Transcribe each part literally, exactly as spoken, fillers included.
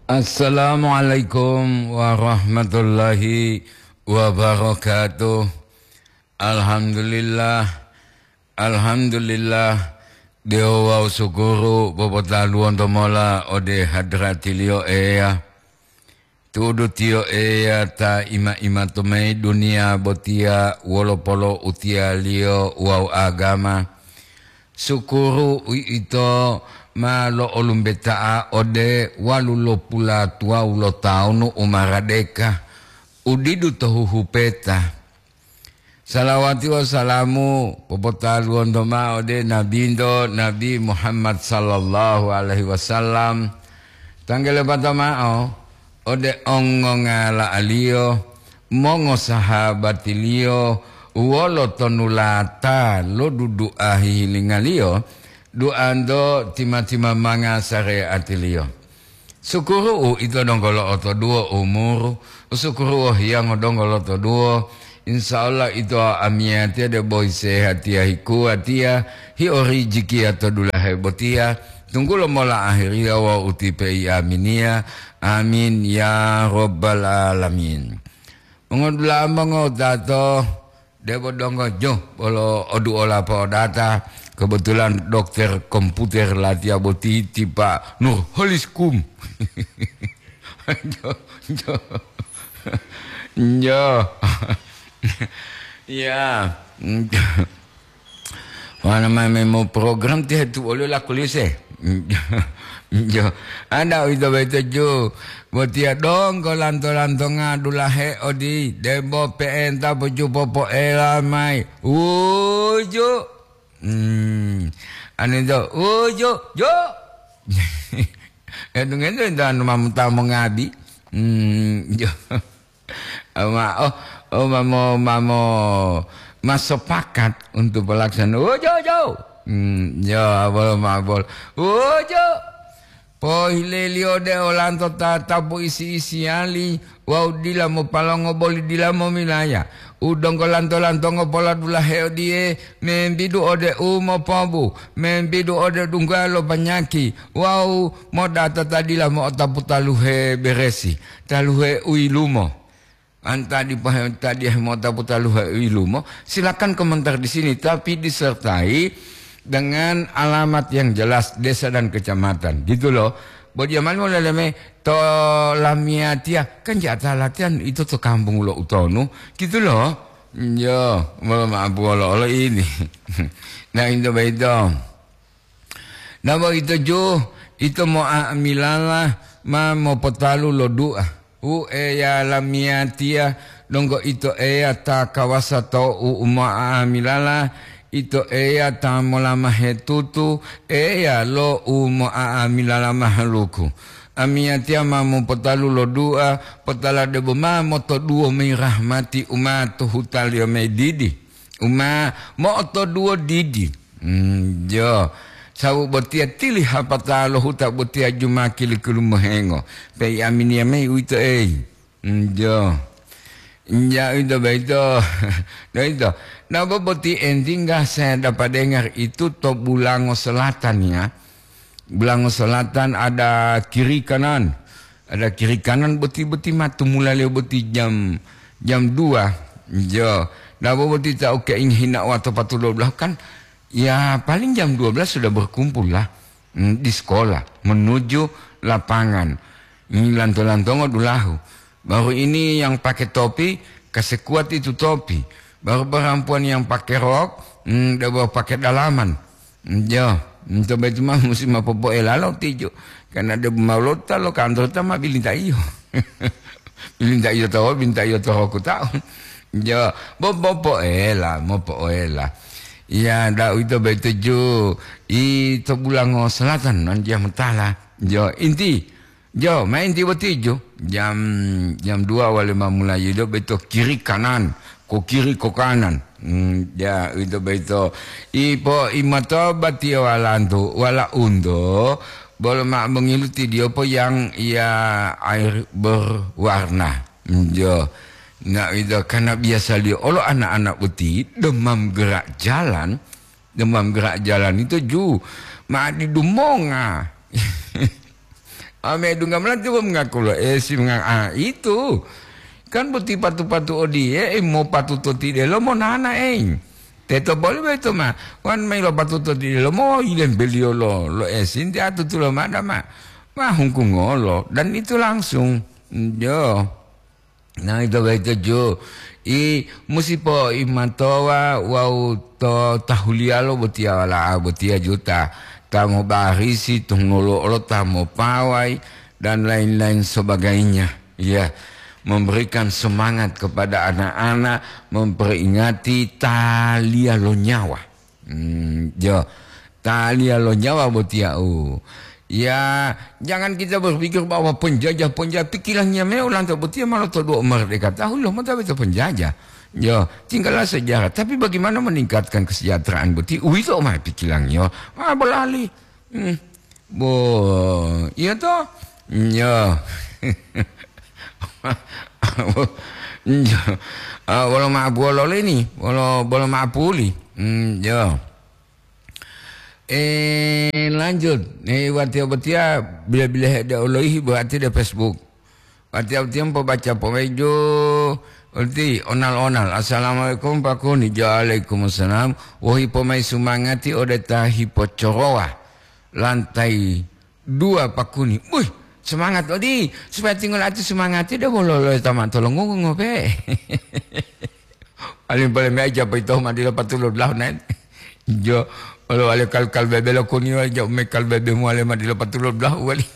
Assalamualaikum warahmatullahi wabarakatuh. Alhamdulillah, alhamdulillah, dewo wawu sukuru popotaluwonto mola ode hadratiliyo Eya. Tu'udu tiyo Eya ta ima-ima to mayi duniya botiya wolo polo'utiyaliyo wawu agama. Sukuru uwito ma lo'olumbeta'a ode walu lopula tuwawu lo tawunu u maradeka, u didu to huhupeta. Salawati wawu salamu popotaluwonto mao ode Nabinto, Nabi Muhammad sallallahu alaihi wasallam. Tanggalepata mao ode ongongala'aliyo, mongosahabatiliyo, wolo tonulata lo dudu'a hihilingaliyo, duanto tima-timamanga sareatiliyo. Sukuru'u ito donggo lo'otoduwo umuru, sukuru'u hiyango donggo lotoduwo. Insya Allah ito amiyatiya debo hisehatiya hikuwatiya, hiorijikiya to dulahe botiya, tunggulo mola ahiriya wawu utipe i aminiya. Amin ya rabbal alamin. Mongodula'a mongotato, debo donggo jo bolo oduola po'odata, kebetulan dokter komputer latiya boti ti Pak Nurholis Kum. Jo, jo. Jo. Ya. Wana ma memo program tihe tu olio lakulise. Jo. Ada uwito boyito ju. Botiya donggo lanto-lantonga dulahe odi, debo pe'enta pojupo poela mayi. Uju. Hmm. Anu ito, uju, ju. Entu-ngentu ito anu mamuta mongabi. Hmm, jo. Ma, oh, oh, mamo, mamo, ma sepakat untuk pelaksanaan. Uju, ju. Hmm, jo, abol, ma, abol. Uju. Pohileliyo de olanto tatapu isi-isiyali wawu dila mopalongo boli dila momilaya. U donggo lanto-lantongo poladulahe odiye, membidu ode u mopobu, membidu ode dungga lo panyaki, wawu modata ta dila mo'otapu taluhe beresi, taluhe u yilumo. Anta dipahe-, tadiyahe mota putaluhe u yilumo, silakan komentar di sini, tapi disertai dengan alamat yang jelas, desa dan kecamatan, gitu loh. Bo diya mali moleleme to lamiyatiya, kan jata latihan itu to kampung lo utonu, gitu loh. Yo, mohon maaf, olo-olo ini. Nah, itu begitu. Nabo ito ju, ito mo'a'amilala ma mopotalu lo du'a. Wu Eya lamiyatiya, donggo ito Eya ta kawasa to u mo'a'amilala, ito Eya ta molamahe tutu, Eya lo u mo'a'amilala mahaluku. Amiyatiya ma mopotalu lo du'a, potala debo ma motoduwo mayi rahmati u ma to hutaliyo mayi didi. U ma mo'otoduwo didi. Mm, jo. Sawu botiya tili hapata lo huta botiya jumaki li kilumuhengo. Pei aminiya mayi uwito, ei. Mm, jo. Ja, uwito boyito. Boyito. Nabo boti entingga saya dapat dengar itu to Bulango Selatan, ya. Bulango Selatan ada kiri kanan. Ada kiri kanan boti-boti ma tumulaliyo boti jam, jam dua. Jo. Nabo boti ta uke inghina wato patulo belah kan, ya, paling jam dua belas sudah berkumpul lah, mm, di sekolah menuju lapangan. Ini lanto-lantongo dulahu. Baru ini yang pakai topi, kasekuat itu topi. Baru perempuan yang pakai rok, mm, dia baru pakai dalaman. Jo, nto boyito ma musi ma popoela lo tijo. Karena de ma lota lo kantor ta ma bilintaiyo. Bilintaiyo to, bilintaiyo to hoku tau. Jo, bo popoela, mopoela. Ya, da uwito boyito ju, i to Bulango Selatan, non dia mutala. Jo, inti, Jo, ma inti boti ju. Jam, jam dua wale ma mulayi do boyito kiri kanan, ko kiri ko kanan. Hmm, ja, uwito boyito. Ipo imato batiyo walantu, wala unto, bolo ma mongilu tidiyo po yang ya air berwarna. Hmm, jo. Na uwito karena biasaliyo olo anak-anak boti demam gerak jalan, demam gerak jalan itu ju ma didumonga. Ame dungga melati bo mengaku lo esi menga-, ah, itu. Kan boti patu-patu odiye, eh, mo patuto tidelo mo nana, eh. Teto boli boyito ma, wan mayi lo patuto tidelo mo yilembeliyo lo, lo esi, nti atutulo mada ma, ma hungkungolo, dan itu langsung. Yo. Nah, ito boyito ju. I musi poimatowa wawu to tahuliyalo botiya wala'a botiya juta. Ta mobarisi, tunggulo olo ta mopawai, dan lain-lain sebagainya. Ya, memberikan semangat kepada anak-anak, memperingati taliya lo nyawa. Hmm, jo. Taliya lo nyawa botiya u. Ya, jangan kita berpikir bahwa penjajah-penjajah, pikirannya me olanto botiya ma lotoduwo merdeka. Tahu lo mota beto penjajah. Yo, tinggallah sejarah. Tapi bagaimana meningkatkan kesejahteraan boti? Uwito ma pikirannya. Ah, bolali. Hmm. Bo, iya to? Yo. Yo. Ah, bolo ma'apuwolo lini, bolo, bolo ma'apuli. Hmm, yo. Eh, lanjut. Eh, watiya botiya bila-bila hede oloihi berarti de Facebook. Watiya botiya pobaca pomeju, berarti onal-onal. "Assalamualaikum, Pak Kuni." "Waalaikumsalam." "Wohi pomai sumangati ode ta hipocorowa lantai dua, Pak Kuni." Wih, semangat odi, supaya tinggal ati sumangati de bolo lo tama tolongungu ngope. Paling-paling me aja poyito ma dila patulu dulahu naen. Jo, olo wale kal-kal bebe lo kuni wale jo me kal bebe muwale ma dila patulu dulahu wali.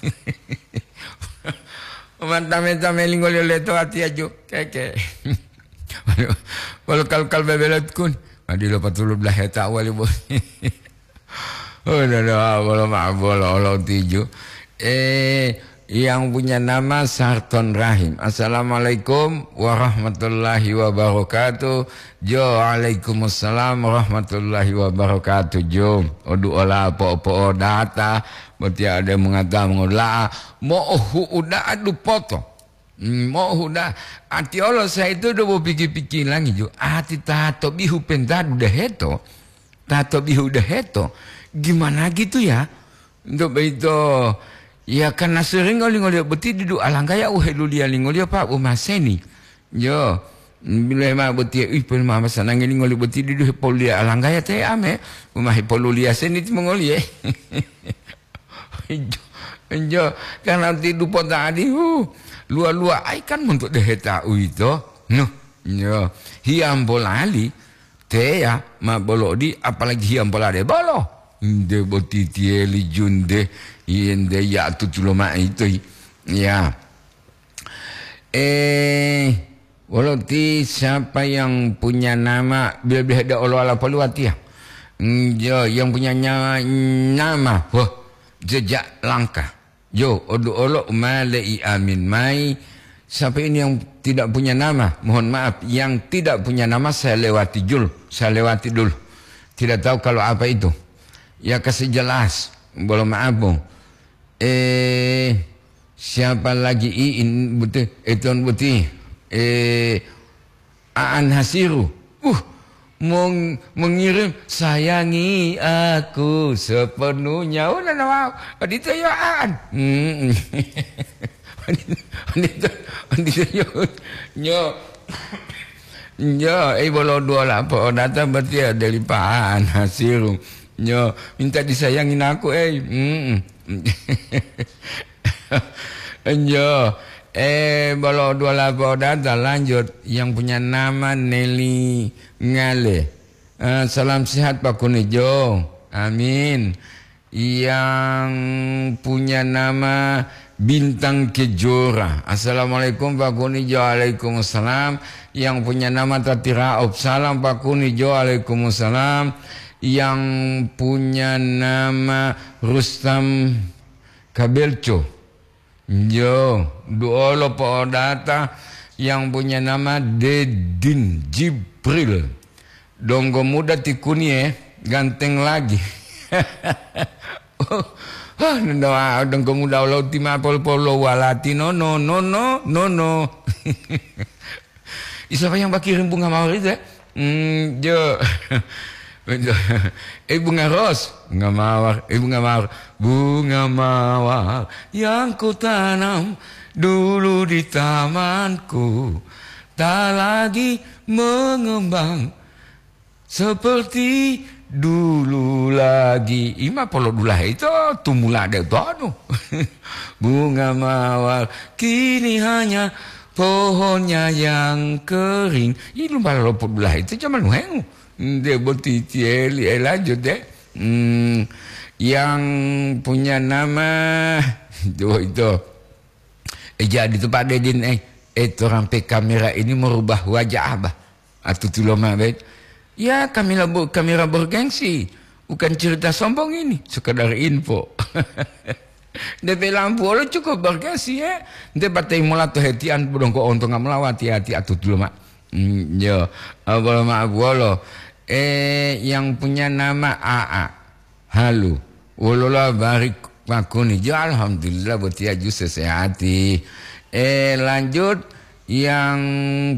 Manta-menta melingoliyo leto ati aju. Keke. Wale kal-kal bebe lo kun. Ma dila patulu dulahu heta wali bo. Oh, dodo, bolo ma-, bolo olo tiju. Eh, yang punya nama Sarton Rahim. "Assalamualaikum warahmatullahi wabarakatuh." Jo, "Waalaikumsalam warahmatullahi wabarakatuh." Jo, odu ola po-, po data, botiya ode mengata mengola'a, mo'ohu'u da'a dupoto. Hmm, mo'ohu'u da'a. Ati olo sa itu do bo piki-pikilangi jo. Ati ta to bihu pentadu deheto. Ta to bihu deheto. Gimana gitu ya? Untuk begitu, ya, karena sering ngoli-ngoli boti didu alanggaya u heluliya lingoliyo, Pak, u maseni. Yo, bila ma boti, ih, pun mama sanangi lingoli boti didu hepoluliya alanggaya te ame, uma hepoluliya seni timongoliye. Enjo, enjo, karena ti dupo tadi, hu, lua-lua ai kan monto deheta uwito. Noh, yo, hiyambo lali, teya ma bolo odi, apalagi hiyambo lade bolo. Nde boti tiyeli junde, yende ya tutulo ma'itoi. Ya. Eh, wolo ti siapa yang punya nama, bila-bila hede olo ala poli watiya? Mm, jo, yang punya nya-, nama, wah, jejak langkah. Jo, odu olo umale i amin mai. Siapa ini yang tidak punya nama? Mohon maaf, yang tidak punya nama saya lewati jul, saya lewati dulu. Tidak tahu kalau apa itu. Ya, kasih jelas. Bolo maaf, Bung. Eh, siapa lagi iin buti, eton buti? Eh, Aan Hasiru. Uh, mong-, mengirim "Sayangi aku sepenuhnya." Oh, nana, wow. Odito yo Aan. Mm. Odito, odito, odito yo. Nyo. Nyo, eh, bolo dua lapo. Oh, datang berarti ya dari Pak Aan Hasiru. Nyo, minta disayangin aku, eh. Mm. Enjo. Eh, bolo dua lapo data lanjut. Yang punya nama Nelly Ngale. Eh, salam sehat, Pak Kunijo. Amin. Yang punya nama Bintang Kejora. "Assalamualaikum, Pak Kunijo." "Waalaikumsalam." Yang punya nama Tatiraop. "Salam, Pak Kunijo." "Waalaikumsalam." Yang punya nama Rustam Kabelco. Yo, duolo po'odata yang punya nama Dedin Jibril. Donggo muda tikunie ganteng lagi. Oh, oh, no, no, ah, donggo muda lo ti ma pol-, pol-, lo walati, no, no, no, no, no, no. Isapa yang bakirim bunga mawar itu, ya? Hmm, jo. Eh, bunga ros, bunga mawar, eh, bunga mawar, bunga mawar yang kutanam dulu di tamanku, tak lagi mengembang seperti dulu lagi. Ima polo dulahe ito tumula de tonu. Bunga mawar kini hanya pohonnya yang kering. Ini lumbala lopo dulahe ito zaman nuhengu. Nde boti tieli, eh, lanjut deh. Hmm, yang punya nama, itu, itu. Eh, jadi itu Pak Dedin, eh, eh, orang P kamera ini merubah wajah abah. Atutu loma bet. Ya, kamera bu-, kamera bergengsi. Bukan cerita sombong ini, sekedar info. D P lampu olo cukup bergengsi, ya. Nte batai mola to hetian, bodongko ontonga mola wati-wati atutu loma. Hmm, yo, abolo ma abuolo. Eh, yang punya nama A A. Halo. Wolola bari pakuni. Jo, alhamdulillah, botiya ju sesehati. Eh, lanjut, yang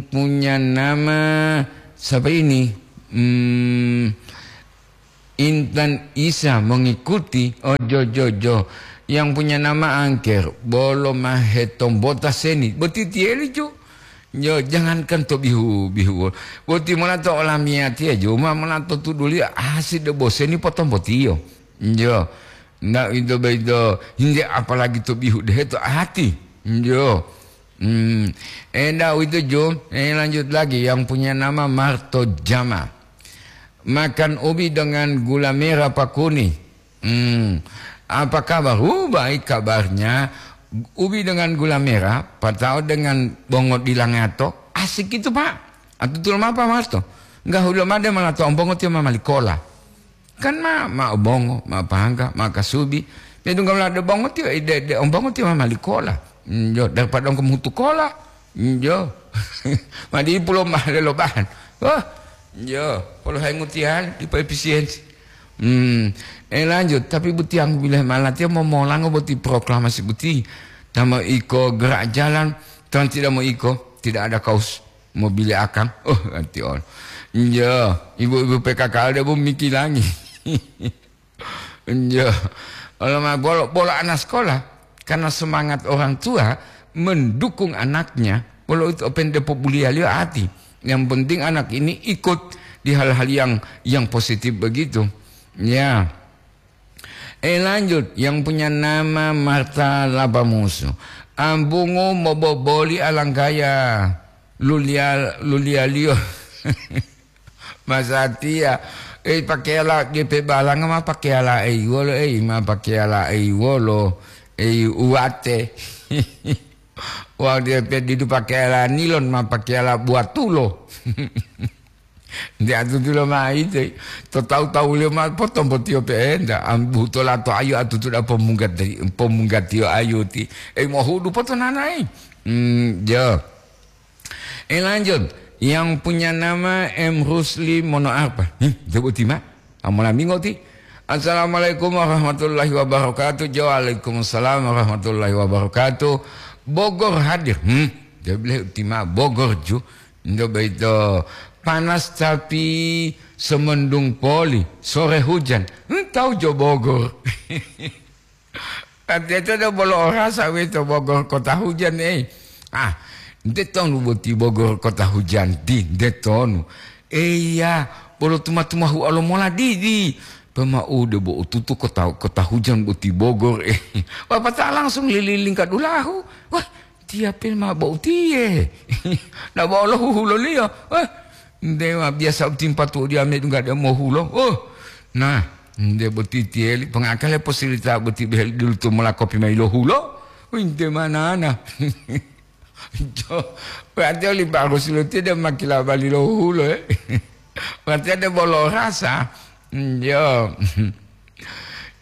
punya nama siapa ini? Hmm, Intan Isa mengikuti. Oh, jo, jo, jo. Yang punya nama Angker. Bolo mahe tombota seni. Boti tieli, ju. Yo, jangankan to bihu-bihu. Boti mola to olamiyatiya, ju. Ma mola to tuduliyo. Asi de boseni potombotiyo. Yo. Nda ito boyito, hingga apalagi to bihu dehe to ati. Yo. Hmm. Enda uwito, ju. Eh, lanjut lagi. Yang punya nama Marto Jama. Makan ubi dengan gula merah pakuni. Hmm. Apa kabar? Uh, baik kabarnya. Ubi dengan gula merah, patao dengan bongo dilangato. Asik itu, Pak. Atutulo mapa, Marto? Enggak hulo made malah to ombongo tiyo mamali kola. Kan ma, ma obongo, ma pahangga, ma kasubi. Dia tunggal ada bongo tiyo, ide, ide ombongo tiyo mamali kola. Hmm, yo, daripada ongko mutu kola. Hmm, yo. Ma di pulo ma lelo bahan. Wah, yo, kalau hai ngutian, di efisiensi. Hmm, eh, lanjut, tapi butiang bileh malatiya momolango boti proklamasi boti. Tama iko gerak jalan, tan tidak mau iko, tidak ada kaos. Mobile akang. Oh, ganti on. Iya, ibu-ibu P K K L dia bu mikilangi. Iya. Kalau ma-, bolo, bolo anak sekolah, karena semangat orang tua mendukung anaknya, bolo itu open depo buliah liyo ati. Yang penting anak ini ikut di hal-hal yang, yang positif begitu. Ya. Eh, lanjut, yang punya nama Marta Labamusu. Ambungu moboboli alanggaya lulia-, lulialiyo. Masatiya, eh, pakeyala G P balanga ma pakeyala ei wolo, ei ma pakeyala ei wolo, ei uwate. Wau dia pe didu pakeyala nilon ma pakeyala buatulo. Nde atutulo ma ite, to tawu-tawuliyo ma potombotiyo pe'enta, am, butola to ayu atutuda pomunggati-, pomunggatiyo ayuti. Eh, mohudu potonanayi. Hmm, jo. Eh, lanjut. Yang punya nama M Rusli Mono apa? Hmm, coba uti ma. Amola mingo ti. Assalamualaikum warahmatullahi wabarakatuh. Jo, waalaikumsalam warahmatullahi wabarakatuh. Bogor hadir. Hmm, dia bilang uti ma Bogor ju. Nde boyito panas tapi semendung poli, sore hujan. Entau jo Bogor. Artinya itu ada bolo orasa wito Bogor kota hujan, eh. Ah, nde tonu boti Bogor kota hujan di, nde tonu. Eya, bolo tuma-tumahu alo mola didi. Pemaude bo ututu kota, kota hujan boti Bogor, eh. Wapata langsung lililing kadulahu. Wah, tiya pe ma bo utiye. Na bo lo huhuloliyo. Eh, nde ma biasa utimpa tu dia me dunga de mohulo. Oh, nah, nde boti tiyeli. Pengakale posilita boti behel dulu tu mola kopi mai lo hulo. Winte manana. Jo, berarti oli bagus lo tidak makila bali lo hulo, eh. Berarti ada bolo rasa. Hmm, jo.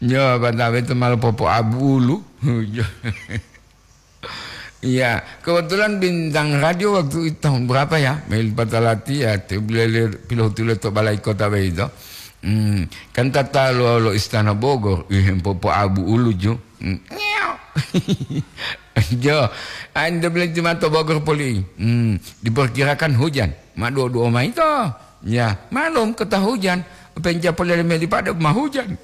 Jo, batawe itu malah popo abu ulu. Jo. Iya, kebetulan bintang radio waktu itu tahun berapa ya? Mel Patalati ya, te-, beliau pilohutu leto balai kota begitu. Hmm, kan tata lo, lo Istana Bogor, ih, popo abu ulu ju. Hmm, ngeok. Jo, anda bilang cuma to Bogor poli. Hmm, diperkirakan hujan. Ma dua-dua ma ito. Ya, malum kota hujan. Penca polele meli pada ma hujan.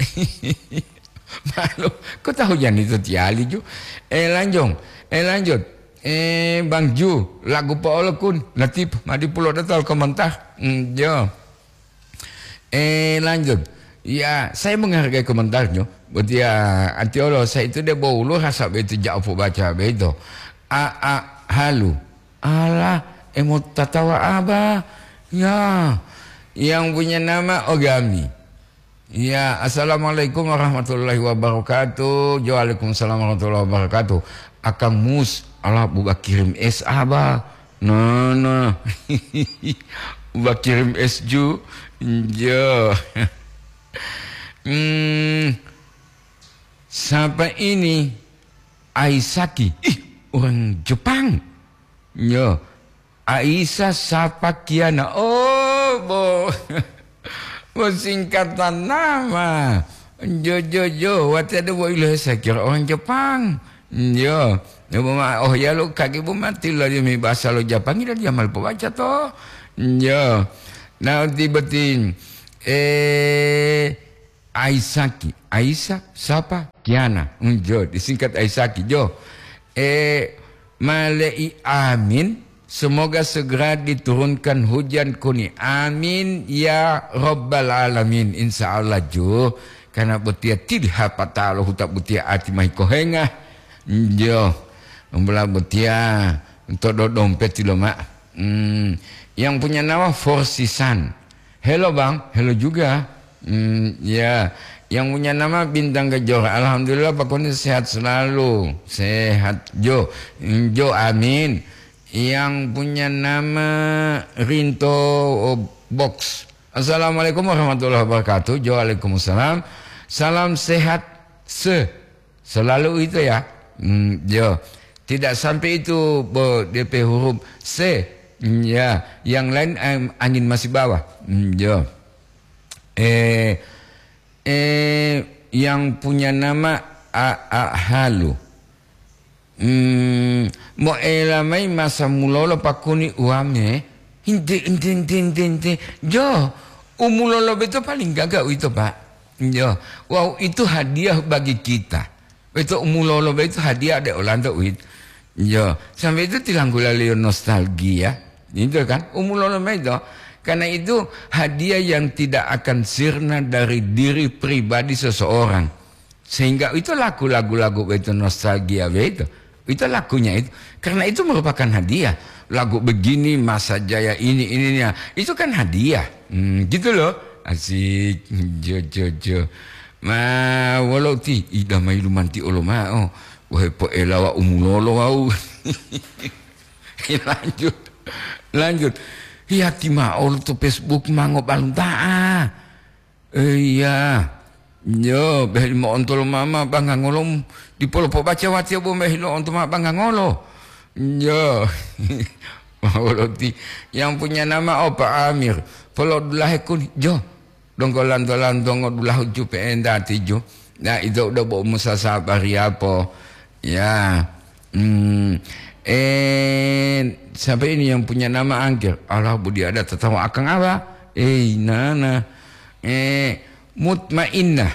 Malu, kota hujan itu tiali ju. Eh, lanjong. Eh, lanjut. Eh, Bang Ju, lagu po'olo kun. Latif, madi pulo datal komentar. Hmm, jo. Eh, lanjut. Ya, saya menghargai komentarnya. Buat ya, antiolo, saya itu dia bau lu rasa begitu jauh baca begitu. A, a, halu. Alah, emo tatawa apa? Ya, yang punya nama Ogami. Ya, assalamualaikum warahmatullahi wabarakatuh. Waalaikumsalam warahmatullahi wabarakatuh. Akang Mus, alah buka kirim es apa? Nana. Buka kirim es ju. Jo. Hmm, siapa ini? Aisaki. Ih, orang Jepang. Yo, Aisa Sapakiana. Oh, bo. Bo singkatan nama. Jo, jo, jo. Wati ada bo ilo saya kira orang Jepang. Yo. Yo, bo ma, oh ya lo kaki bo mati lo mi bahasa lo Jepang ila dia mal baca to. Yo. Nah, tiba-tiba eh Aisaki, Aisa, sapa? Kiana. Hmm, jo, disingkat Aisaki, jo. Eh, malei amin. Semoga segera diturunkan hujan kuni. Amin ya rabbal alamin. Insya Allah, jo. Karena botia tilha patalo huta botia ati mahi kohenga. Jo. Umbula botia untuk do dompet lo, Mak. Hmm, yang punya nama Forsisan. Halo, Bang, halo juga. Hmm, ya, yang punya nama Bintang Kejora. Alhamdulillah, Pak Koni sehat selalu. Sehat, Jo. Hmm, Jo, amin. Yang punya nama Rinto, oh, Box. Assalamualaikum warahmatullahi wabarakatuh. Jo, waalaikumsalam. Salam sehat se. Selalu itu ya. Hmm, yo. Tidak sampai itu, bo, D P huruf C. Hmm, ya. Yang lain, em, angin masih bawah. Hmm, yo. Eh, eh, yang punya nama A A Halu. Hmm, mo ela mai masa mulolo pakuni uame. Hinte, hinte, hinte, hinte, hinte. Jo, umulolo beto paling gaga uito, Pak. Jo, wow, itu hadiah bagi kita. Beto umulolo beto hadiah de olanto uito. Jo, sampai itu tilanggula leo nostalgia. Itu kan, umulolo beto. Karena itu hadiah yang tidak akan sirna dari diri pribadi seseorang. Sehingga itu lagu, lagu-lagu itu nostalgia begitu. Itu lagunya itu. Karena itu merupakan hadiah. Lagu begini, masa jaya ini, ininya. Itu kan hadiah. Hmm, gitu loh. Asik. Jo, jo, jo. Ma, walau ti, ida mai lumanti olo ma'o. Wahai po elawa umulolo wau. Lanjut. Lanjut. Hiyati ma'o to Facebook mango balunta'a. Iya. Yo, beheli mo'onto lo mama bangangolo, dipolo pobaca watiya bo beheli lo'onto ma bangangolo. Yo. Mawoloti yang punya nama Opa Amir. Polo dulahe kuni. Jo. Donggo lanto-lantongo dulahu jupe endati ju. Nah, itu udah bo musa sabar ya po. Ya. Hmm. Eh, siapa ini yang punya nama Angkir? Allah, budi ada tatawa akang apa? Eh, nana. Eh, Mutmainnah.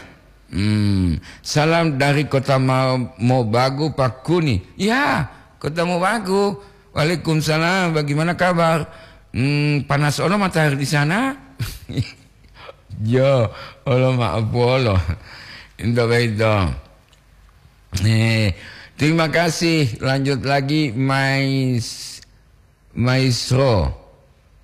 Hmm. Salam dari kota Ma-, Mobagu, Pakuni. Ya, kota Mobagu. Waalaikumsalam, bagaimana kabar? Hmm, panas ono matahari di sana? Yo, olo maaf polo. Into beito. Eh, terima kasih. Lanjut lagi, Mais-, Maisro.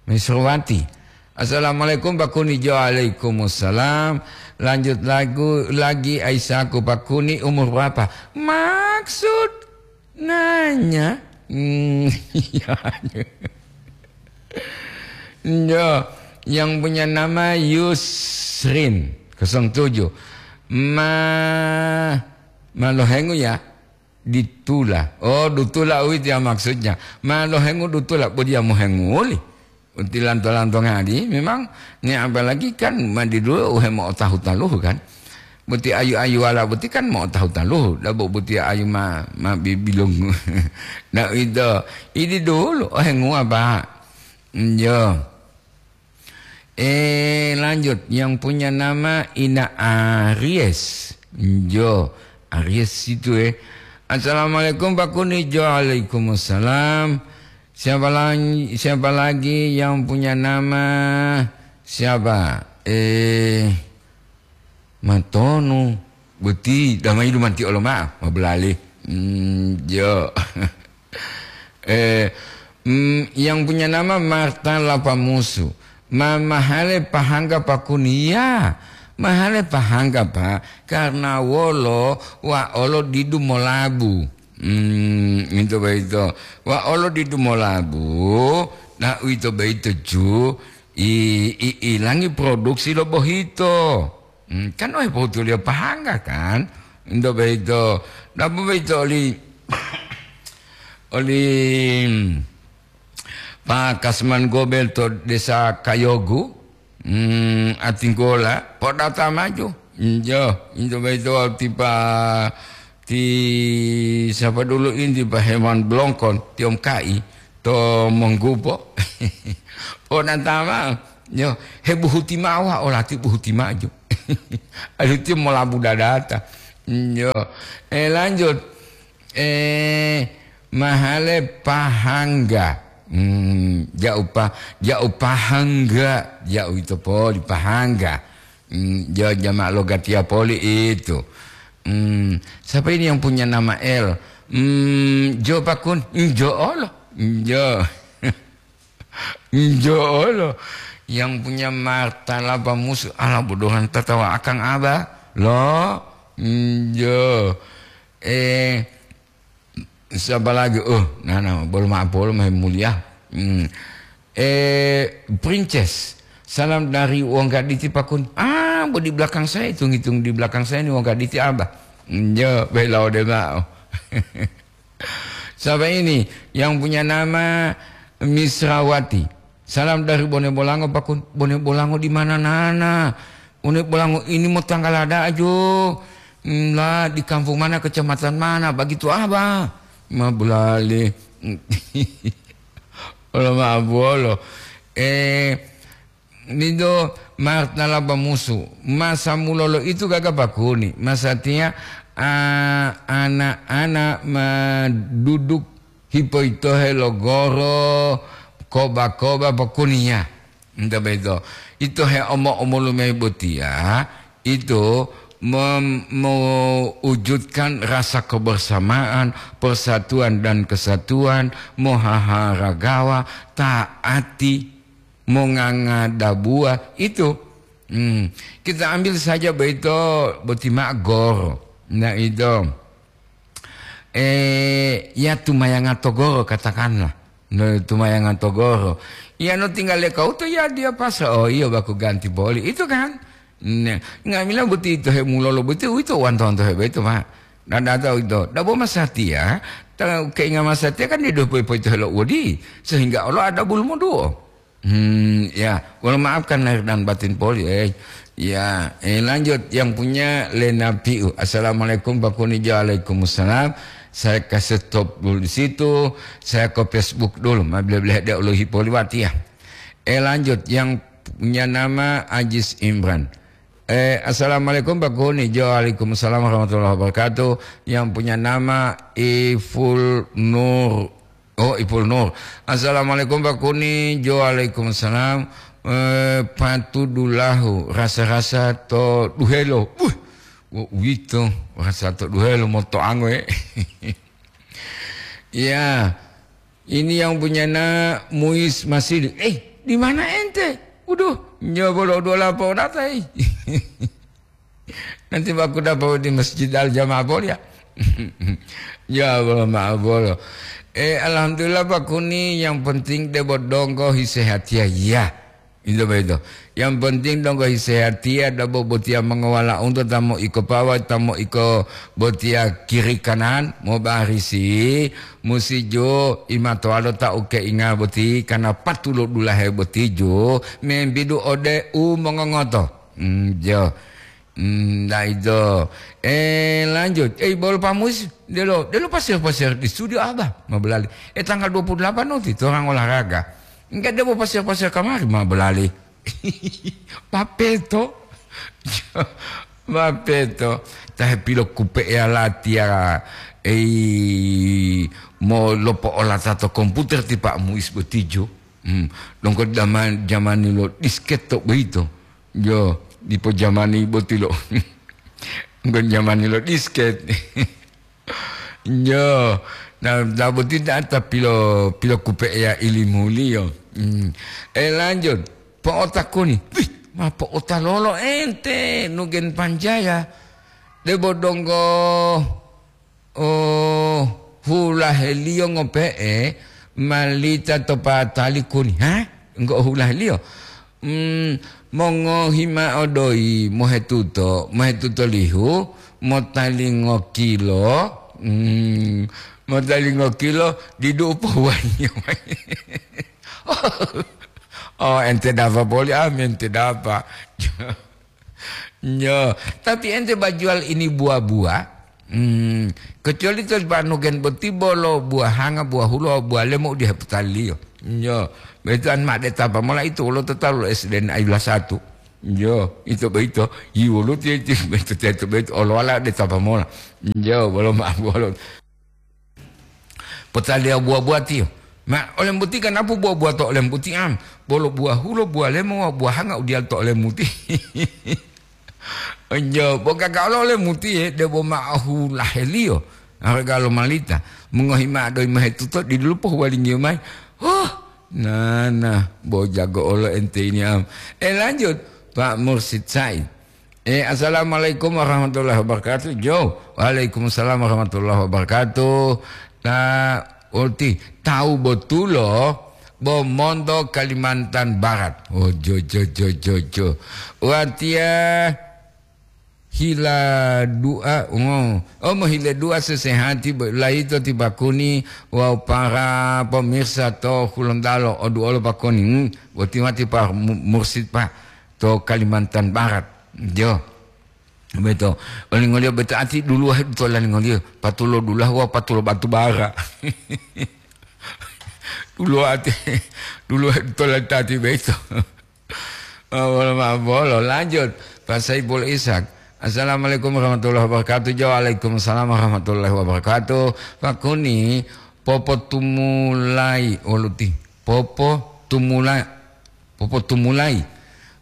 Maisrowati. Assalamualaikum, Pak Kuni. Jo, waalaikumsalam. Lanjut lagu lagi, Aisyahku, Pak Kuni, umur berapa? Maksud nanya? Hmm, iya. Yo, yang punya nama Yusrin kosong tujuh. Ma, ma lohengu ya, ditula. Oh, dutula uwito ya maksudnya. Ma lohengu dutula, bo dia mohenguli. Uti lanto-lanto ngadi, memang ni apalagi kan mandi dulu uhe mo'otahu taluhu kan. Buti ayu-ayuwala buti kan mo'otahu taluhu, dabo buti ayu ma, ma bibilung. Nah, itu, idi dulu, oh, henguwa, Pak. Iyo. Eh, lanjut. Yang punya nama Ina Aries. Jo, Aries itu, eh. "Assalamualaikum, Pak Kuni." Jo, waalaikumsalam. Siapa lagi, siapa lagi yang punya nama, siapa? Eh, Matonu. Boti, damai dumanti olo ma'o, mabulali. Hmm, jo. Eh, mm, yang punya nama Marta Lapamusu. Ma-, mahale pahangga Pak Kuni? Ya, mahale pahangga, Pak, karena wolo wa olo didu molabu. Hmm, itu baito. Wa olo didu molabu, na uito baito ju, i, i, ilangi produksi lo bohito. Hmm, kan ohe pohutuliyo pahangga kan? Ento boyito, dapu boyito oli, oli, hmm, Pak Kasman Gobel to Desa Kayogu, hmm, Atinggola, podata maju. Injo, injo boyito ti pa, ti sapa dulu inti Pak Herman Blongkon, ti om kai. To monggupo. Pona tama, yo, he buhuti ma'o, wa olati buhuti maju. Alu tiyo molabu dadata. Yo, eh, lanjut. Eh, mahale pahangga. Hmm, ja'u pa-, ja'u pahangga, ja'u ito poli pahangga. Hmm, jo jama' lo gatiya poli itu. Hmm, siapa ini yang punya nama L? Hmm, jo Pakun, hmm, jo olo. Hmm, jo. Hmm, jo olo. Yang punya martalaba musuh, ala bodohan tatawa akang aba. Lo, hmm, jo. Eh, Siapa lagi? Oh, nana, bolo ma'o polo mahe mulia. Hmm. Eh, Princess, salam dari Wong Gaditi Pakun. Ah, bo di belakang saya, hitung-hitung di belakang saya ini Wong Gaditi, Abah. Hmm, yo, bela ode ma'o. Siapa ini yang punya nama Misrawati? Salam dari Bone Bolango, Pakun. Bone Bolango di mana, Nana? Bone Bolango ini mo tanggal ada ajo. Hmm, lah, di kampung mana, kecamatan mana, begitu, Abah? Ma bulali. Olo ma abuolo. Eh, nido martalaba musu. Masa mulolo itu gaga Pakuni. Masatiya, ah, anak-anak ma duduk hipoitohe lo goro, koba-koba pokuniya. Nta beto. Ito he omo-omolu mayi botiya, ito mem-, mewujudkan rasa kebersamaan, persatuan dan kesatuan, mohaharagawa, taati, mongangadabuwa, itu. Hmm. Kita ambil saja boyito boti ma'o goro. Nah, itu. Eh, ya tumayanga to goro, katakanlah. No, tumayanga to goro. Ya, no tinggal le kauto, ya dia pasa. Oh, iyo, baku ganti poli. Itu kan? Nah, nga'amila boti ito hemulolo boti, uwito wanto-wanto hebe itu, Pak. Dan data itu, dabo masatiya, ta-, keinga masatiya kan dia dopo-dopo itu helo wodi, sehingga Allah ada bulu moduo. Hmm, ya, wolo maafkan lahir dan batin poli, eh. Ya, eh, lanjut yang punya Lena Piu. "Assalamualaikum, Pak Kuni." Waalaikumsalam. Saya kasih stop dulu di situ. Saya ke Facebook dulu. Ma bele-bele dia uluhi poli wati ya. Eh, lanjut yang punya nama Ajis Imran. Eh, "Assalamualaikum, Pak Kuni." Jo, waalaikumsalam warahmatullahi wabarakatuh. Yang punya nama Iful Nur. Oh, Ipul Nur. "Assalamualaikum, Pak Kuni." Jo, waalaikumsalam. Eh, patudulahu, rasa-rasa to duhelo. Wuh, wo uwito, rasa to duhelo moto ango, eh. Ya, ini yang punya na Muis Masili. Eh, di mana ente? Waduh, nyobo lo dua lapo data, eh. Nanti aku dapat di Masjid Al Jamaah, boleh ya? Ya, boleh, maaf, boleh. Eh, alhamdulillah, Pak Kuni, yang penting debo donggo hisehatiya, ya. Itu begitu. Yang penting donggo hisehatiya, dabo botiya mengawala untuk tamu iko pawa, tamu iko botiya kiri kanan, mau barisi, musi jo, imatoalo ta uke inga boti, karena patulo dulahe boti jo, membidu ode u mongongoto. Hmm, jo. Hmm, daido. Eh, lanjut. Eh, bolo pamus, delo, delo pasir-pasir di studio Abah, ma belali. Eh, tanggal dua puluh delapan nanti, torang olahraga. Enggak, debo pasir-pasir kamari, ma belali. Mapeto. Mapeto. Tahe pilokupe'eya latiya, ei, mo lopo'olata to komputer ti Pak Muis botijo. Hmm. Donggo zaman, jamani lo disket to boyito. Yo, dipo jamani boti lo. Donggo jamani lo disket. Yo, na, na boti data pilo, pilokupe'eya ilimuliyo. Hmm. Eh, lanjut. Po'otakuni. Wih, ma po'otalolo ente, Nugen Panjaya. Debo donggo, oh, hulaheliyo ngope'e, malita to patali kuni. Ha? Enggo hulaheliyo? Hmm, mongohi ma'o doyi mohetuto, mohetuto lihu, motalingo kilo, hmm, motalingo kilo, didu u pohuwaliyo mayi. Oh, ente dapa poli, ah, ente dapa. Nyo, tapi ente bajual ini buah-buah, hmm, kecuali to banugen boti bolo buahanga, buah hulo, buah lemo u diheputaliyo. Nyo, betuan ma de tapa mola itu wolo to talu S D N ayula satu. Nyo, ito boyito, yi wolo ti, ti, beto, teto boyito, olowala de tapa mola. Nyo, bolo ma, bolo. Potaliya buwa-buwatiyo. Ma, olembuti ganapu buwa-buwa to olembuti am, bolo buwa hulo, buwa lemo wawu buwa hanga u diyalu to olembuti. Onjo, bo gaga olo olembuti, ye, debo ma'o hulaheliyo, harga lo malita, mongohi ma'o doyi mohetuto, didulo pohuwalingiyo mayi. Huh, nana, bo jago olo ente ini am. Eh, lanjut, Pak Mursid Said. Eh, assalamualaikum warahmatullahi wabarakatuh. Jo, waalaikumsalam warahmatullahi wabarakatuh. Ta, oti, tawu botulo, bo monto Kalimantan Barat. Oh, jo, jo, jo, jo, jo. Watiya hila du'a, oh, oh, mohile du'a sesehati bo-, layito ti bakuni wawu para pemirsa to Hulontalo, oduolo bakuni. Hmm, boti wati pa mu-, mursid, Pak. To Kalimantan Barat. Jo. Beto. Olingoliyo beto ati duluwahe dutola lingoliyo. Patulo dulahu wawu patulo batu bara. Duluwa ati, duluwahe dutola tati beto. Oh, bolo ma-, bolo. Lanjut. Pak Saiful Ishak. Assalamualaikum warahmatullahi wabarakatuh. Jo, waalaikumsalam warahmatullahi wabarakatuh. Pak Kuni, popotumulai, oluti. Popotumula-, popotumulai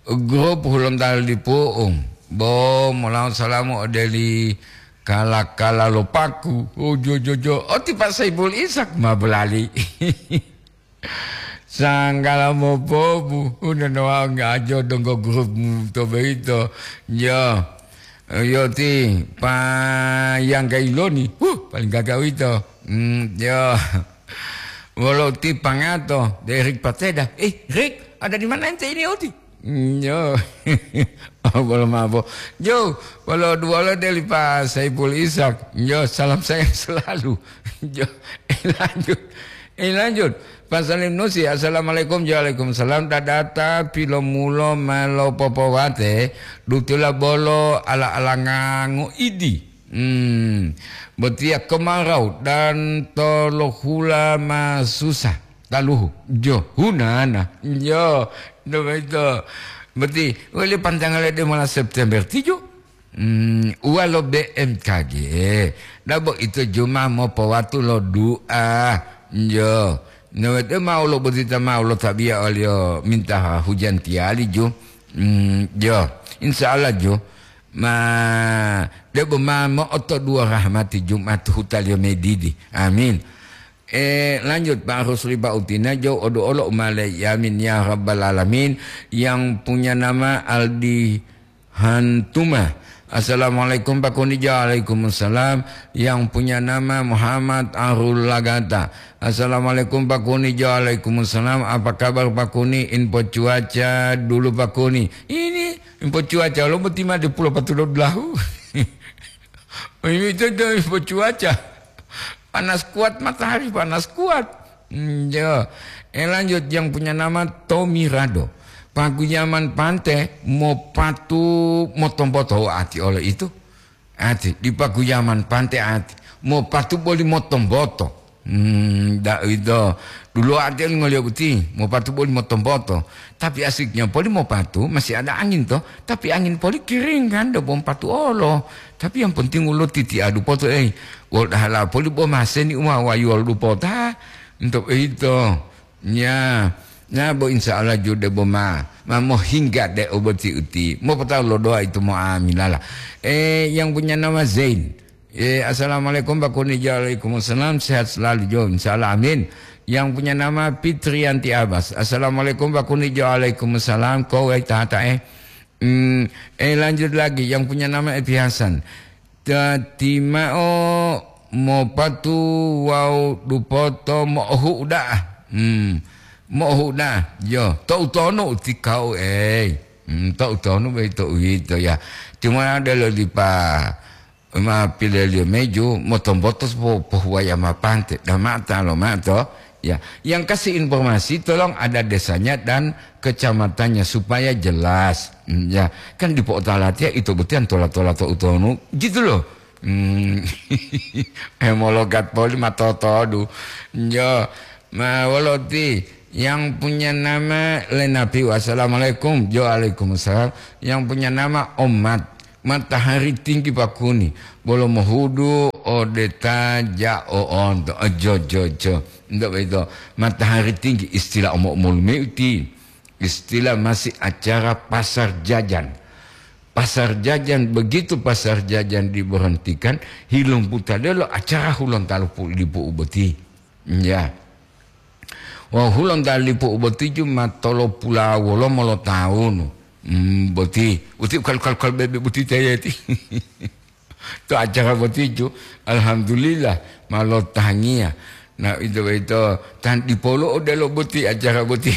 grup Hulontalo dipu'u, bo molawo salamu ode li kala-kala lo Paku. Oh, jo, jo, jo. Oh, ti Pak Saiful Ishak ma bolali. Sanggala mopobu, unono wau ngajo donggo grup to boyito. Yo. Yo ti Pak Yangga Iloni. Huh, paling gaga uwito. Hmm, yo. Wolo ti pangato, de Rik Pateda. "Eh, Rik, ada di mana ente ini, Oti?" "Hmm, yo." Oh, bolo mabo. "Yo, wolo duwolo deli Pak Saiful Ishak." "Yo, salam saya selalu." Yo, eh, lanjut. Eh, lanjut. Pak Salim Nusi, "Assalamualaikum." "Waalaikumsalam." Dadata pilomulo ma lopopowate, dutula bolo ala-alangango idi. Hmm, botiya kemarau dan tolohula ma susah taluhu. Jo, hunana. Jo, no boyito. Boti, wele pantanggal lebe mola September tijo. Hmm, uwalo B M K G. Dabo ito juma mopowatu lo du'a. Jo. No boyito mau lo botita mau lo tabiya oliyo minta hujan tiyali ju. Hmm, jo. Insya Allah ju. Ma, debo ma mo'otoduwo rahmati Jumat hutaliyo medidi. Amin. Eh, lanjut, Pak Rusli Bautina, jo odo olo umale. Yamin ya Rabbal Alamin. Yang punya nama Aldi Hantuma. Assalamualaikum, Pak Kuni. Waalaikumsalam. Yang punya nama Muhammad Arul Lagata. Assalamualaikum, Pak Kuni. Waalaikumsalam. Apa kabar, Pak Kuni? Info cuaca dulu, Pak Kuni. Ini info cuaca, lo boti ma di Pulau Patulo Belahu. Ini itu, itu info cuaca. Panas kuat, matahari panas kuat. Hmm, ya. Eh, lanjut, yang punya nama Tommy Rado. Paguyaman Pante, mopatu motomboto ati oleh itu. Ati, di Paguyaman Pante ati. Mopatu boli motomboto. Hmm, da ito. Dulu ate ngoliyo boti, mopatu boli motompoto. Tapi asiknya poli mopatu, masih ada angin to. Tapi angin poli kering kan, da bom patu olo. Tapi yang penting ulo titi adu poto, eh. Wol dahala poli bo maseni uma wayuwol dupota. Untuk itu. Ya. Ya, bo insya Allah jude bo ma. Ma mohingga de oboti uti. Mau petau lo doa itu mau amilala. Eh, yang punya nama Zain. Eh, assalamualaikum Pak Kuni. Waalaikumsalam. Sehat selalu Jo. Insya Allah. Amin. Yang punya nama Fitrianti Abbas. Assalamualaikum Pak Kuni. Waalaikumsalam. Kau ai tata eh. Hmm, eh, lanjut lagi. Yang punya nama Epi Hasan. Tati ma'o mopatu wawu dupoto mo'ohu'u da'a. Hmm. Mo'ohu'u da'a. Yo, to'u tonu utikau, ei. Hmm, to'u tonu boyito uwito, ya. Cuma delo dipa ma pileliyo meju, motombotos po-, pohuwaya ma pante. Dama'ata lo ma'o to. Ya, yang kasih informasi tolong ada desanya dan kecamatannya supaya jelas. Hmm, ya, kan dipo'otalatiya ito botiyan tola-tola to utonu, gitu loh. Hmm. Hemologat poli ma totodu. Jo, ma woloti yang punya nama Lenapiu. Assalamualaikum. Jo, waalaikumsalam. Yang punya nama Omat. Matahari tinggi pakuni. Bolo mohudu ode ta ja'o onto. Eh, jo, jo, jo. Ndak begitu. Matahari tinggi istilah omo-omolu meuti. Istilah masih acara pasar jajan. Pasar jajan, begitu pasar jajan diberhentikan, hilumputa delo acara Hulontalo pu-, lipu uboti. Ya. Wah, Hulontalo lipu uboti ju ma tolopula wolo molo taunu. Hmm, boti, uti kal-, kal-, kal bebe boti tayeti. To acara botiju, alhamdulillah, ma lotangiya. Na, ito boyito, tan dipolu odelo boti acara boti,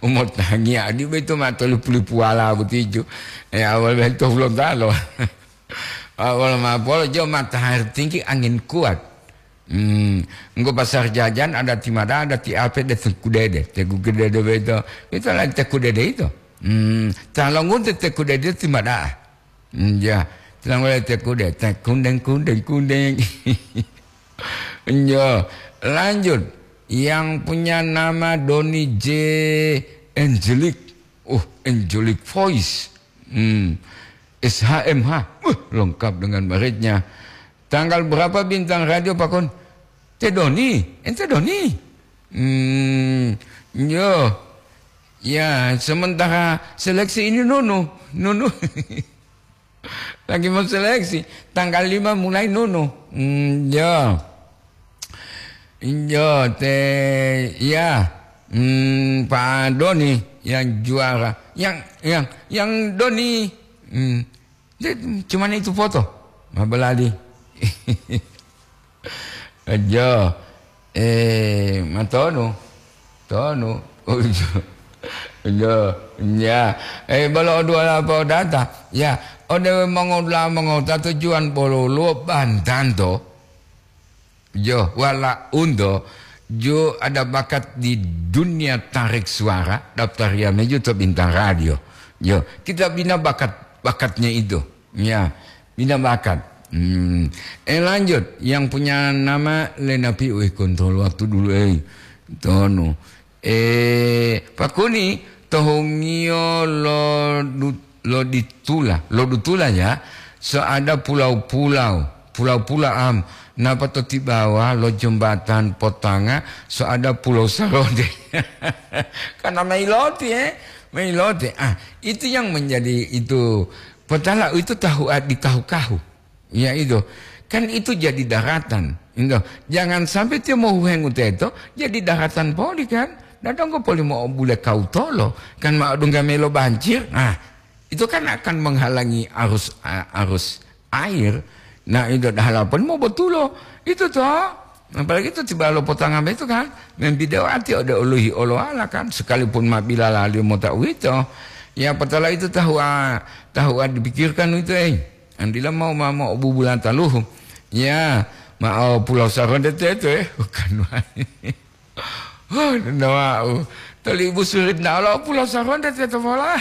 umotangiya, adi boyito ma tolipu-lipuwala botiju. E, awal boyito Hulontalo. Awal ma polo jo matahari tinggi, angin kuat. Hmm, enggo pasar jajan ada ti mada, ada ti ape de Teku Dede. Teku Dede boyito, ito lagi Teku Dede ito. Hmm, ta longunte Teku Dede ti mada. Iya, tenang wae tekude, tekundeng, kundeng, kundeng. Iya, lanjut. Yang punya nama Doni J Angelic. Uh, Angelic Voice. Hmm. S H M H. Uh, lengkap dengan mereknya. Tanggal berapa bintang radio, Pak Kun? Te Doni, ente Doni. Hmm, yo. Ya, sementara seleksi ini Nunu, Nunu. Lagi mau seleksi, tanggal lima mulai Nunu. Hmm, ya. Yo, te, ya. Hmm, Pak Doni yang juara. Yang, yang, yang Doni. Hmm. Dia cuman itu foto. Mabelali. Aja. Eh, matonu. Tonu. Aja. Ya. Eh, bolo dua apa data. Ya. Ode mongola mongota tujuan bolo luo bantanto. Yo, wala undo, jo ada bakat di dunia tarik suara, daftar ya meju to bintang radio. Yo, kita bina bakat, bakatnya itu. Ya, bina bakat. Hmm. Eh, lanjut, yang punya nama Lenapi, weh, kontrol waktu dulu, eh. Tonu. Eh, Pak Kuni, tohungiyo lo du-, lo ditula, lo dutula ya, so ada pulau-pulau, pulau-pulau am, napa to tibawa lo jembatan Potanga, so ada Pulau Sarode. Karena mailoti, eh, mailoti. Ah, itu yang menjadi itu, petala itu tahu, ah, di kahu-kahu. Ya itu. Kan itu jadi daratan. Itu. Jangan sampai tiyo mohuhengu teto, jadi daratan poli kan. Dadonggo poli mo bule kautolo. Kan ma odungga melo banjir. Nah, itu kan akan menghalangi arus, a-, arus air. Nah, itu dahala poli mo botulo. Itu to. Apalagi itu tiba lo potangam itu kan. Membidewa ati ode oluhi oloala kan. Sekalipun ma bila lali mota uwito. Ya, petala itu tahu, ah, tahu, ah, dipikirkan itu, eh. Andila mau mamo bubulanta luhu. Ya, ma'o Pulau Saronde teto, eh. Bukan wae. Oh, nawa'u. Toli Ibu Surit na olo Pulau Saronde teto mola.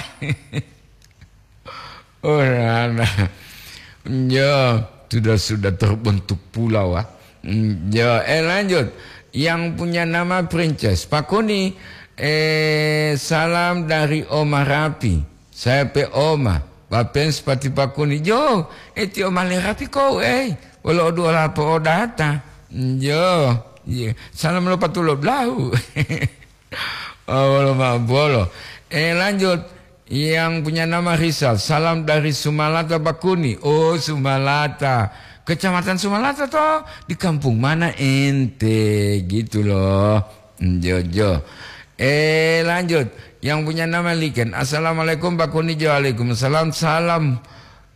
Oh, nana. Ya, sudah, sudah terbentuk pulau, ah. Hmm, ya, eh, lanjut. yang punya nama Princess. Pakuni, eh, salam dari Oma Rapi. Saya pe Oma, Bapen sepati Pakuni. Jo, eh, ti Oma le Rapi kau, eh. Wolo odu ola po odata. Jo, iya. Salam lo patulo blahu. Oh, wolo ma-, bolo. Eh, lanjut. Yang punya nama Rizal, salam dari Sumalata Bakuni. Oh, Sumalata. Kecamatan Sumalata toh? Di kampung mana ente? Gitu loh. Jojo. Eh, lanjut. Yang punya nama Liken. Assalamualaikum, Bakuni. Waalaikumsalam. Salam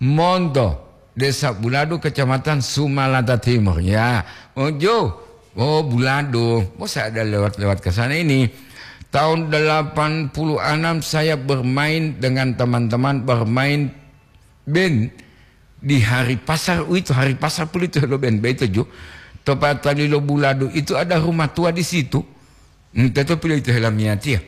Monto. Desa Buladu, Kecamatan Sumalata Timur. Ya, oh, Jo. Oh, Buladu. Oh, saya ada lewat-lewat ke sana ini. Tahun delapan puluh enam saya bermain dengan teman-teman, bermain band di Hari Pasar. Itu Hari Pasar pun itu lo band, begitu, Jo. Tepatali lo Buladu itu ada rumah tua di situ. Hmm, teto pilo itu helamiatia.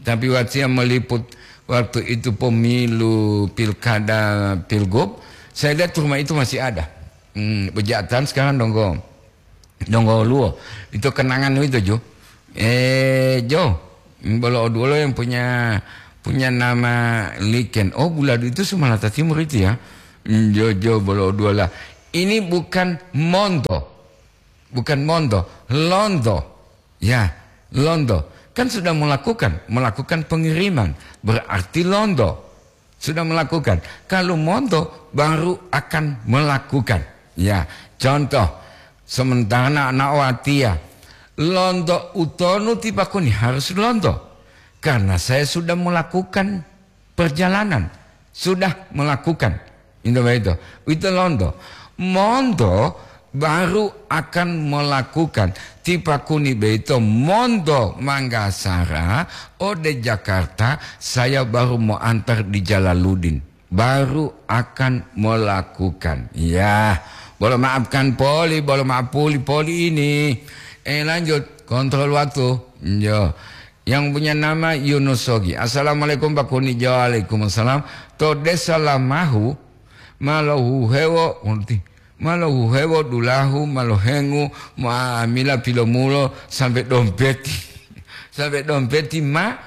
Tapi watiya meliput waktu itu pemilu pilkada, pilgub, saya lihat rumah itu masih ada. Hmm, bejatan sekarang donggo, donggo luo. Itu kenangan itu, Jo. Eh, Jo, bolo oduolo yang punya, punya nama Liken. Oh, Buladu itu Sumalata Timur itu ya. Hmm, Jo, Jo, bolo oduola. Ini bukan Monto. Bukan Monto, Lonto. Ya, Lonto. Kan sudah melakukan, melakukan pengiriman. Berarti Lonto. Sudah melakukan. Kalau Monto baru akan melakukan. Ya, contoh. Sementara anak watia. Lonto utonu tipakuni harus Lonto. Karena saya sudah melakukan perjalanan, sudah melakukan. Itu begitu. Itu Lonto. Monto baru akan melakukan. Tipakuni beito Monto Manggasara, ode Jakarta, saya baru mau antar di Jalaludin. Baru akan melakukan. Ya, boleh maafkan poli, boleh maaf poli, poli ini. Eh, lanjut. Kontrol waktu. Yo. Yang punya nama Yunus Sogi. Assalamualaikum, Pak Kuni. Waalaikumsalam. To desa Lamahu, ma lohuhewo, ngerti? Ma lohuhewo dulahu, ma lohengu, ma amila pilomulo, sampai dompeti. Sampai dompeti, ma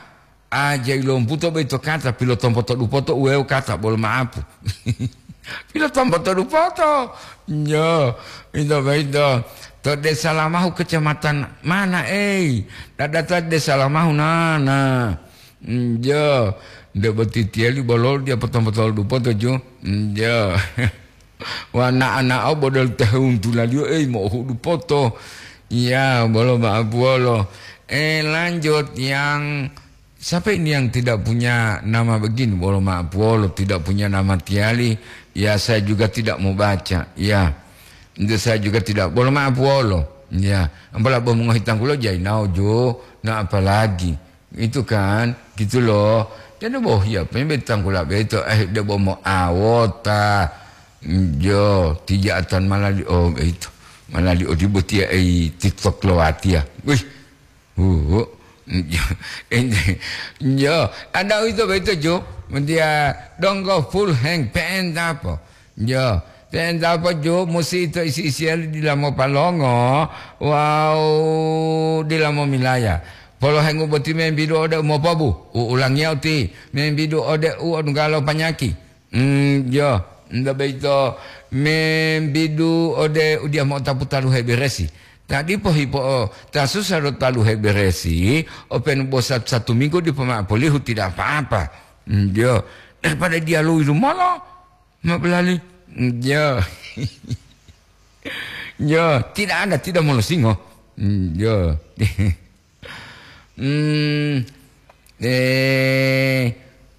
aja ilomputo boyito kata, pilotompoto dupoto uwewo kata, bolo maapu. Pilotompoto dupoto. Njo, ito boyito. To desa Lamahu kecamatan mana, ei? Dadata desa Lamahu nana. Njo, nde boti tiyali bolol dia potom-potol dupoto ju. Njo. Wana anao bodol tahun tulaliyo, ei, mo'ohudu poto. Ya, bolo maapuwolo. Eh, lanjut yang, siapa ini yang tidak punya nama begini? Bolo maapuwolo, tidak punya nama tiyali. Ya, saya juga tidak mau baca. Ya. Itu saya juga tidak, bolo maapuwolo. Ya, ampala bo mongohi tanggulo jainao jo. Nah, apalagi. Itu kan, gitu loh. Jadi boh ya, pembe tanggula beto, eh, de bomo awota. Jo, tija'atan malali, oh, itu. Malali odibo tia, eh, TikTok lo watia. Wih, uh, jo, ada itu beto jo. Dia donggo full hang, pen apa? Jo, pe'enta poju musi ito isi-isiyali dila mopalongo wawu dila momilaya. Polohengu boti membidu ode umopobu, u'ulangiya uti, membidu ode uodunggalo panyaki. Mm, jo, nto boyito membidu ode udiya mo'otapu taluhe beresi. Ta dipo hipo o ta susa lo taluhe beresi, openu bo satu-satu minggu dipo mao polihu, tidak apa-apa. Mm, jo, daripada diya lowi lumolo. Ma'o lali. Yo. Yo, tidak ada, tidak molosingo. Yo. Hmm, eh,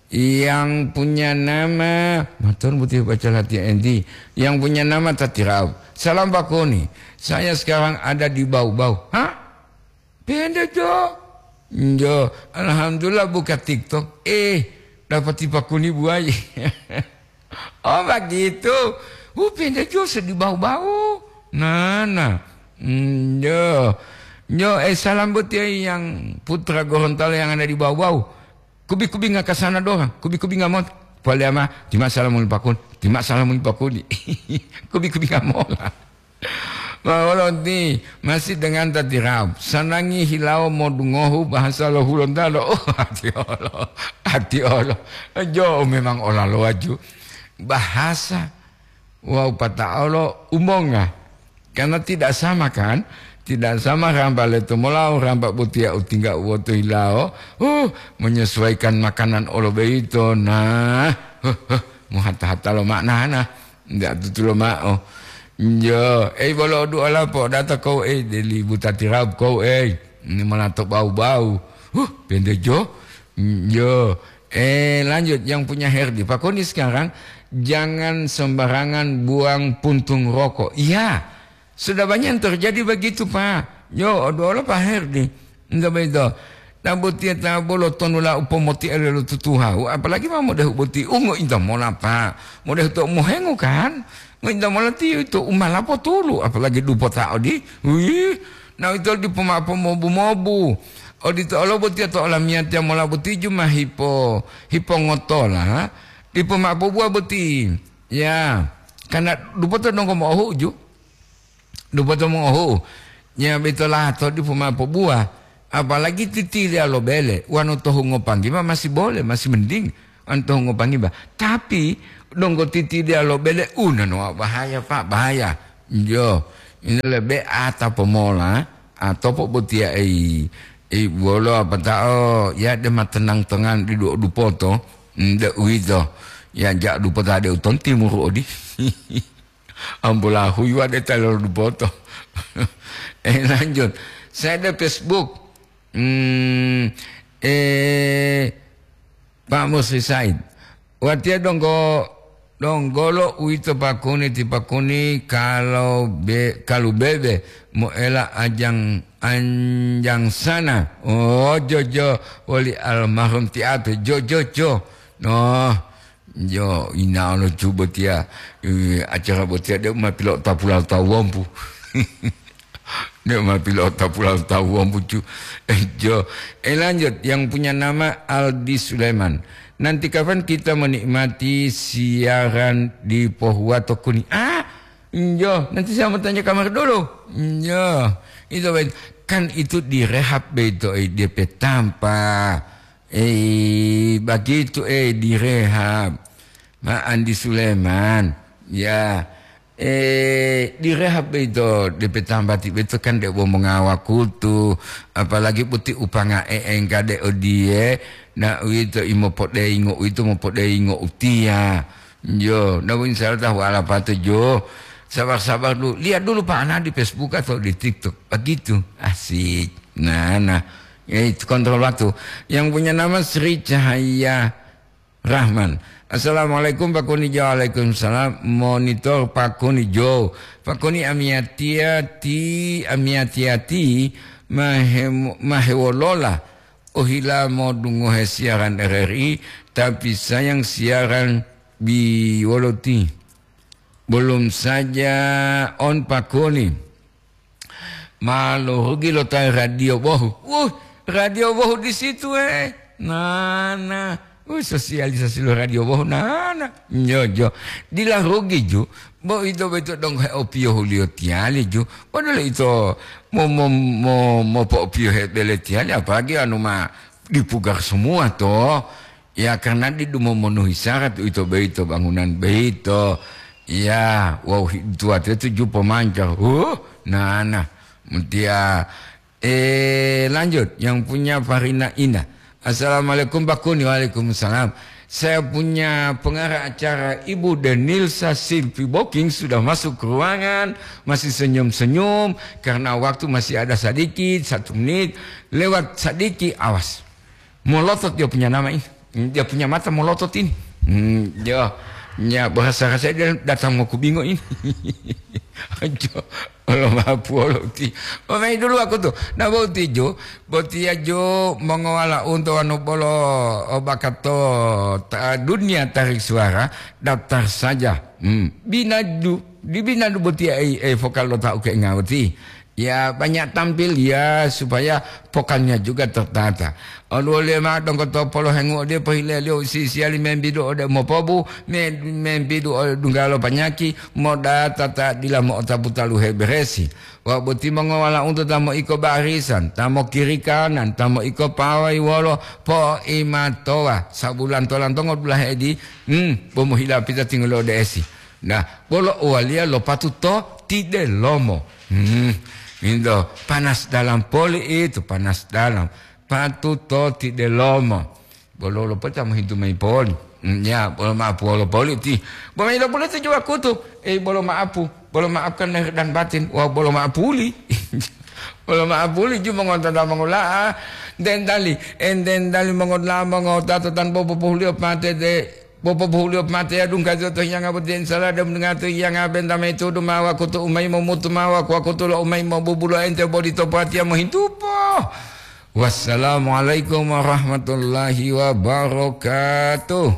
yang punya nama, matur putih baca latihan enti. Yang punya nama Tatirau. Salam Pak Koni. Saya sekarang ada di Bau-Bau. Hah? Pende, Jo. Jo, alhamdulillah buka TikTok. Eh, dapati Pak Koni buai. Oh, begitu. Uh, pende, Jo, sedih bau-bau. Nah, nah. Hmm, Jo. Jo, eh, salam buat ya yang putra Gorontalo yang ada di Bau-Bau. Kubi-kubi nggak ke sana doang. Kubi-kubi nggak mau. Paliama, tima salam muli Pak Koni. Tima salam muli Pak Koni. Kubi-kubi nggak mau lah. Ma wolo ti, masih dengan tati Raub. Sanangi hilawo modungohu bahasa lo Hulontalo. Oh, ati olo, ati olo. Jo memang olalo waju. Bahasa wau pata'olo umonga. Karena tidak sama kan? Tidak sama rampa leto molau, rampa botiya utingga uwoto hilawo. Uh, menyesuaikan makanan olo beito. Nah, huh, huh, muhata-hata lo maknana. Ndak tutulo ma'o. Njo, ei bolo duola po data kou ei deli butati Raub kou ei. Ini malah to bau-bau. Huh, pende jo. Njo. Eh, lanjut yang punya Herdi. Pak Koni sekarang jangan sembarangan buang puntung rokok. Iya. Sudah banyak yang terjadi begitu, Pak. Yo, duola Pak Herdi. Nto boyito. Ta botiya ta bolo tonula u pomotiale lo tutuhahu, apalagi ma modehu boti u ngointa mola, Pak. Modehu to mohengu kan? Ngointa mola tiyo ito u malapo tulu, apalagi dupota odi. Wih, na ito dipo ma'o pomobu-mobu. Odito olo botiya to olamiyatiya mola boti ju ma hipo, hipongotola, dipo ma'o pobuwa boti. Ya, karena dupota donggo mo'ohu'u ju. Dupoto mongohu'u, nya boyito lato dipo ma'o pobuwa, apalagi titiliya lo bele, wonu tohu ngopanggiba masih boleh, masih mending, wonu tohu ngopanggiba. Tapi donggo titiliya lo bele, u nanowa bahaya, Pak, bahaya. Jo, ini lebe ata pomola, atau po botiya ei, ei bolo apata'o, ya de ma tenang-tenang di du-, dupoto, nde uwito, ya ja dupota de uton timuru odi. Ambola huyuwa de ta lolodupoto. Eh, lanjut. Saya ada Facebook. Hmm, eh, Pak Musri Said. Watiya donggo, donggolo uwito pakuni ti pakuni kalau be, kalu bebe moela ajang anjang sana. Oh, jojo woli almarhum ti ape. Jo, jo, jo. No. Jo, inalo ju botiya, eh, acara botiya deu ma pilo'otapu lo tawu wombu. Deu ma pilo'otapu lo tawu wombu ju. Eh, jo, eh, lanjut, yang punya nama Aldi Sulaiman. Nanti kapan kita menikmati siaran di Pohuwato Kuni? Ah, jo, nanti saya mau tanya kamar dulu. Jo, itu baik. Kan itu direhab beito, eh, D P tanpa. Eh, begitu, eh, direhab. Ma Andi Suleman, ya, eh, direhab beito, D P tambati beito kan debo mongawa kutu, apalagi boti upanga e engka de odiye, na uwito imo podeingo, uwito mopodeingo utiya. Jo, na insya Allah tahu ala patu jo. Sabar-sabar dulu. Lihat dulu Pak Ana di Facebook atau di TikTok. Begitu. Asik. Nah, nah. Ya, itu kontrol waktu. Yang punya nama Sri Cahaya Rahman. Assalamualaikum Pak Kuni Jo. Waalaikumsalam. Monitor Pak Kuni Jo. Pak Kuni amiyatiya ti, amiyatiya ti mahe-, mahewolola. Ohila modungohe siaran R R I, tapi sayang siaran bi woloti. Belum saja on Pak Kuni. Malu rugi lo tayi radio bohu. Wuh, radio bohu di situ, eh. Nana. Wuh, sosialisasi lo radio bohu. Nana. Njo, jo. Dila rugi ju. Bo ito beto dong he opiyo huliyo tiyali ju. Padahal ito mo, mo, mo, mo po opiyo he bele tiyali. Apalagi anu ma dipugar semua to. Ya, karena didu memenuhi syarat uwito boyito bangunan boyito. Ya, wawu hi-, tuwatiya tuju pomanca. Huh, nana. Mutiya, eh, lanjut. Yang punya Farina Indah. Assalamualaikum, Pak Kuni. Waalaikumsalam. Saya punya pengarah acara Ibu Denilsa Silvi Boking sudah masuk ke ruangan. Masih senyum-senyum. Karena waktu masih ada sedikit, satu menit. Lewat sedikit, awas. Molotot dia punya nama ini. Dia punya mata molotot ini. Hmm, dia, ya, bahasa saya dia datang mau kubingo ini. Jo, Allah maha puolo ti. Omai dulu aku tuh. Nah, boti jo, boti ya jo mengawala untuk anu bolo, oh, bakato ta, dunia tarik suara, daftar saja. Hmm, binadu, di binadu boti ya, eh, eh, vokal lo tau ke ngawati. Ya, banyak tampil, ya, supaya pokannya juga tertata. Oluwoliyo mao donggo to polohengu ode pohileliyo sisiyali membidu ode mopobu, me-, membidu ode dunggalo panyaki, modata ta dila mo'otapu taluhe beresi. Wawu boti mongowala'unto ta moiko barisan, ta mokiri kanan, ta moiko pawai wolo poimatowa, sabulan tolantongo dulahe edi, hmm, bo mohilapita tingolo ode esi. Nah, bolo uwaliya lo patuto tidelomo. Hmm, into, panas dalam poli itu, panas dalam. Patuto tidelomo. Bolo lo peta mohintu mayi poli. Hmm, ya, bolo maapu wolo poli ti. Bo mayi lo poli ti juwa kutu. Eh, bolo maapu. Bolo maafkan lahir dan batin. Wah, bolo maapuli. Bolo maapuli ju mongonto da mongola'a. Dendali, endendali mongola mongota to tan bobo pohulio pate de. Popopohuliyo pate yadungga to hiyanga boti, insala deu mendenga to hiyanga benta mayi tudu ma wakutu u mayi momutu ma waku-wakutu lo u mayi mobubulo ente boli to patiya mohintupo. Wassalamualaikum warahmatullahi wabarakatuh.